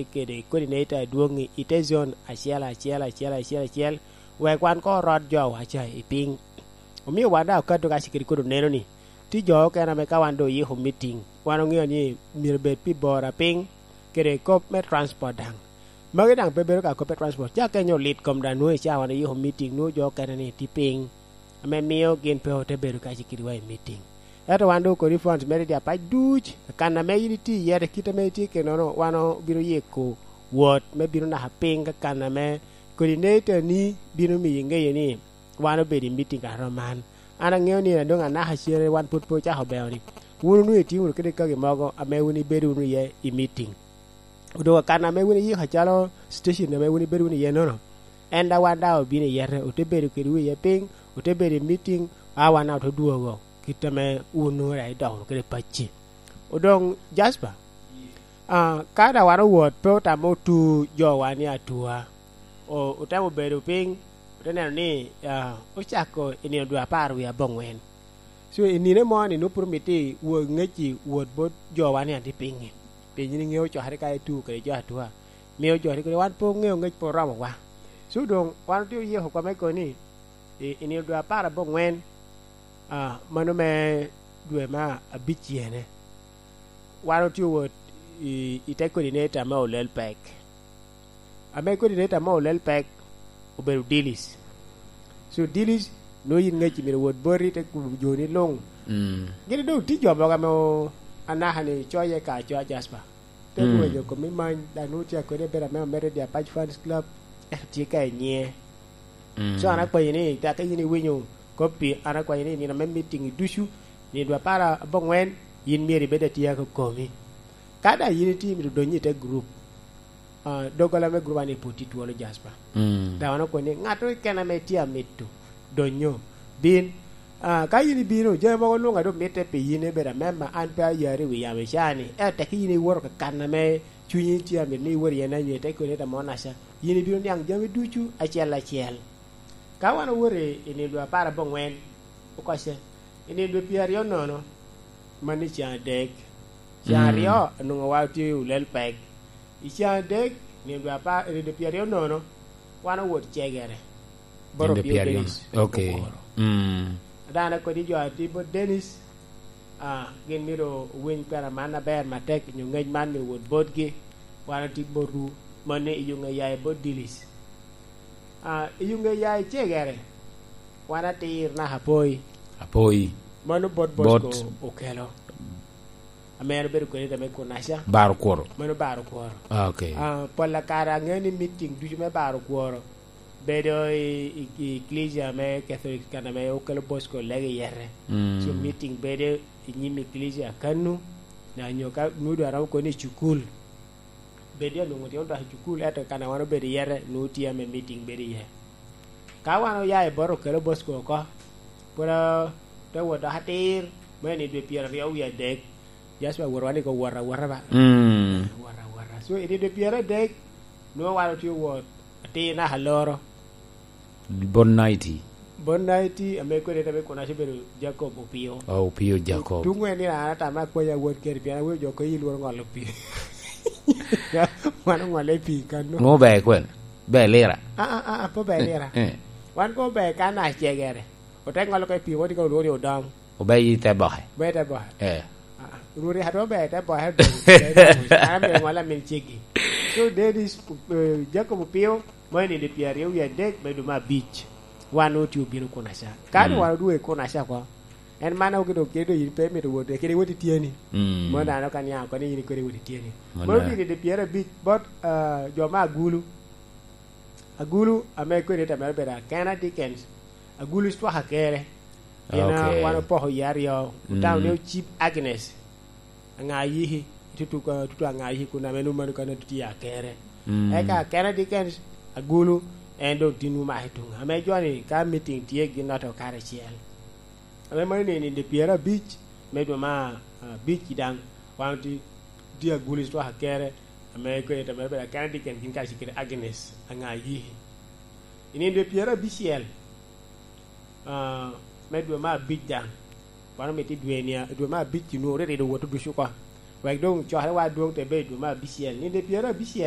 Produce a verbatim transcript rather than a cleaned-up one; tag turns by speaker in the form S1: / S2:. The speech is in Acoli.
S1: Kede coordinator adwongi ite zone achiel achiel achiel achiel achiel wek wan ko rod jo wacha i piny omiyo wan da okato ka cikiri kodo neno ni ti jo okene me ka wan do yiko meeting wan ong'eyo ni myero bed pi bora piny kede kop me transport dang magi dang pe bedo ka kop me transport ca kenyo lit kom da nwo ca wan yiko meeting nwo jo okene ni ti piny ame miyo gin pe ote bedo ka cikiri wa i meeting ento wan do kodi funds mere di apac duc kana me in iti iye kite me itye kenono wan obino yiko wot me bino naka piny ka kana me coordinator ni bino miyi ng'eyo ni wan obedo i meeting kara man an ang'eyo ni dong anaka cere wan pud pe ochako beo ni wun onu itiyo wunu kede kagi mogo ame wun ibedo wunu iye i meeting odong kana me wun iyiko calo station ame wun ibedo wunu iye nono en da wan da obino iyete ote bedo kede wu iye piny ote bedo i meeting a wan ote dwogo kite me wun nongo dong idok wunu kede pacci odong Jasper uh, ka da wan owot pe otamo otu jowa ni atua o otemo bedo piny ote neno ni uh, ochako i nino dwe apar wiye abongwen so i nine mo ni nupur miti wo ngeci wot bot jowa ni ati pinyi piny ni ng'eyo chokre ka itu kede jo atua miyo jo kede wan pe ong'eyo ngec pe oromowa so dong wan otiyo yiko kwa me koni i, i nino dwe apar abongwen uh, mano me dwe ma abic yene wan otiyo wot i, i te coordinator me olel pek ame coordinator me olel pek obedo Dilis so Dilis no yin ngeci myero wot boti te joni lung
S2: Mm.
S1: gini dong ti jo mogo ame anaka ni coye ka acoya Jasper te
S2: Mm.
S1: rwenyo komi many dang nongo tye kwede bedo ame omede di Apac Fans Club ento tye ka inyie
S2: Mm.
S1: so an akwanyo ni take in iwinyo kopi an akwanyo ni nino me meeting ducu nino dwe apar abongwen yin myero ibed atiya kokomi ka da yin iti mito donyi ite group uh, dogola me group ani poti twolo Jasper
S2: Mm.
S1: da wan okoni ng'ato kene me tye amito donyo bin uh, ka yin ibino jami mogo lunga do mitte pi yin ibedo amema an pe ayari wi yamo icani ento tek yin iwoto kakana me cwinyi tye amito ni iwot iye na nyo ite coordinator mo naca yin ibino niang jami ducu achiel achiel ka wan owuot i nino dwe apar abongwen okose i nino dwe piero aryo nono mani chieng adek chieng
S2: Mm.
S1: aryo onongo wa tye ulel pek i chieng adek nino dwe apar nino dwe piero aryo nono wan owuot cegere bot
S2: Nino
S1: Opio
S2: piero aryo.
S1: Dennis
S2: Okay.
S1: Okoro
S2: Mm.
S1: adana kodi jo ati bot Dennis ah, gin myero owiny kwena man maber matek nyo ngec man myero owot botgi wan ati botwu mani iyunge yayi bot Dilis ah, iyunge yayi cegere wan atir naka apoi
S2: Apoi.
S1: mano bot
S2: Bot.
S1: Bosco okelo ame en obedo coordinator me Kunaca
S2: Baro kworo.
S1: mano baro kworo
S2: Okay.
S1: Ah, pol kare ang'eyo ni meeting ducu me baro kworo bedo i, i, i ecclesia me Catholic kana me okelo Bosco lego iyere
S2: Mm.
S1: so meeting bedo i nyim ecclesia kanu na nyo ka nudu aromo koni i cukul bedi onongo tye odok i cukul ento kana wan obedo iyere nu tye me meeting bedo iye ka wan oya i bot okelo Bosco oko pud te wot dok atir me ni dwe piero aryo wiye adek Jasper wot wan ko wot awota ba
S2: Mm.
S1: wot awota so i dwe piero adek nongo wan otye wot atir naka loro
S2: Bon nighty.
S1: bon nighty ame coordinator me Kunaca obedo Jacob Opio
S2: Oh, Opio Jacob.
S1: tungwe ni an atama akwanya wot kede pien awinjo jo ko iluoro ng'olo pi wan ong'ole pi kano
S2: Ngo be kwen. Be lira.
S1: ah ah ah po be lira
S2: Eh.
S1: wan ko be kana chegere ote ng'olo ko pi woti ko luori odong
S2: Obe yi te bohe.
S1: be te bo
S2: Eh.
S1: ruri hato be te bo he dong an be ng'ola min chigi so Dennis uh, Jacob Opio mo ni de piero ariyo wiye adek bedo ma abich wan oti obino Kunaca ka mm. wan oduogo e Kunaca ko en mana oketo kedo in pe mito wuotho kede wuoth itieni
S2: Mm.
S1: mondo an ok aniang koni in kode wuoth itieni
S2: Mondo-
S1: mondo ni de piero abich bot uh, joma agulu agulu ame coordinator mere bedo Akena Dickens agulu swaka kere pien
S2: Okay.
S1: wan opoko yie aryo otawo
S2: Mm.
S1: ne ochip Agnes anga yihi tutu ka tutu anga yihi kuna menu manu kana tuti ya kere
S2: Mm.
S1: eka Akena Dickens agulu en dong tinu ma hitunga ame joni ka meeting tie gi noto kare chiel ame mani ni de piero abich me dwe ma abich dang wan ti ti agulu swaka kere ame coordinator mere bedo Akena Dickens gin kaachiel kod Agnes anga yihi ini dwe piero abiciel uh, me dwe ma abic dang wan omiti dwe ni dwe ma abic nu ore rido wuoto ducu ko wek dong chokre wa dwong te be dwe ma abiciel ni de piero abiciel